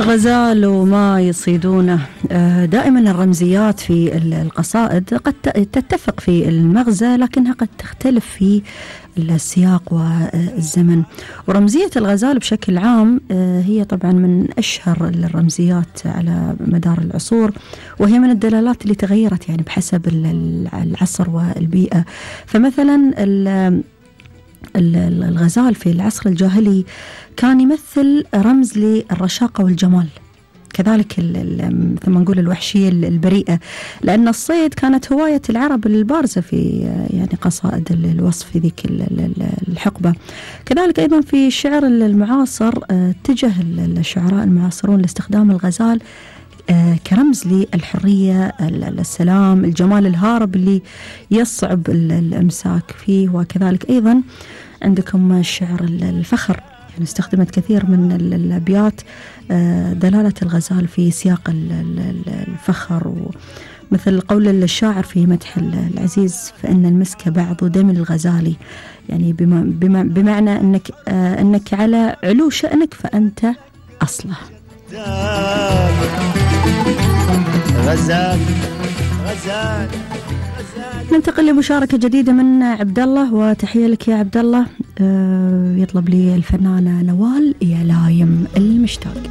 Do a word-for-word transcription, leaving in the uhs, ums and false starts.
غزال وما يصيدونه. دائما الرمزيات في القصائد قد تتفق في المغزى لكنها قد تختلف في السياق والزمن. ورمزية الغزال بشكل عام هي طبعا من أشهر الرمزيات على مدار العصور، وهي من الدلالات اللي تغيرت يعني بحسب العصر والبيئة. فمثلا الغزال في العصر الجاهلي كان يمثل رمز للرشاقة والجمال، كذلك مثل ما نقول الوحشية البريئة، لأن الصيد كانت هواية العرب البارزة في يعني قصائد الوصف في ذيك الحقبة. كذلك أيضا في الشعر المعاصر اتجه الشعراء المعاصرون لاستخدام الغزال كرمز للحرية، السلام، الجمال الهارب اللي يصعب الإمساك فيه. وكذلك أيضا عندكم الشعر الفخر، يعني استخدمت كثير من الأبيات دلالة الغزال في سياق الفخر، مثل قول الشاعر في مدح العزيز: فإن المسك بعض دم الغزالي، يعني بما بمعنى أنك أنك على علو شأنك فأنت أصله. غزال غزال ننتقل لمشاركة جديدة من عبد الله، وتحية لك يا عبد الله. أه يطلب لي الفنانة نوال يا لايم المشتاق.